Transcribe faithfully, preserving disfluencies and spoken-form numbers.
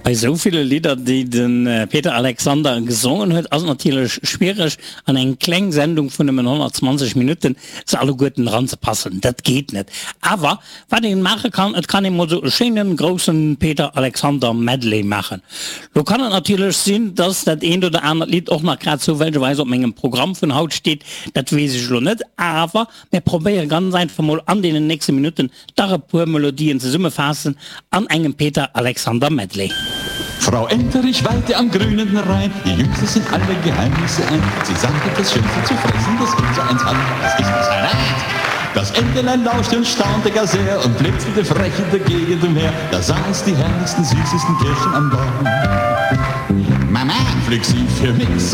Bei sou ville Lidder, déi de Peter Alexander gesongen huet, ass et natierlech schwiereg, an eng kleng Sendung vun nëmmen honnertzwanzeg Minutten se alleguerten eranzepassen. Dat geet net. Awer wat een maache kann, et kann ee mol sou e schéinen, groussen Peter Alexander Medley maachen. Lo kann et natierlech sinn, dass dat eent oder anert Lidd och nach grad zoufällegerweis op mengem Programm vun haut steet, dat weess ech elo net. Awer mir probéiere ganz einfach mol an deenen nächste Minutten dach e puer Melodien zesummefaassen an engem Peter Alexander Medley. Frau Enterich weilte am grünen Rhein, ihr Jüngste sind alle Geheimnisse ein. Sie sagte, das Schönste zu fressen, das unser eins hat, das ist das Salat. Das Entelein lauschte und staunte gar sehr und blinzelte frech in der Gegend umher. Da sah es die herrlichsten, süßesten Kirschen am Baum. Mama, pflück sie für mich, so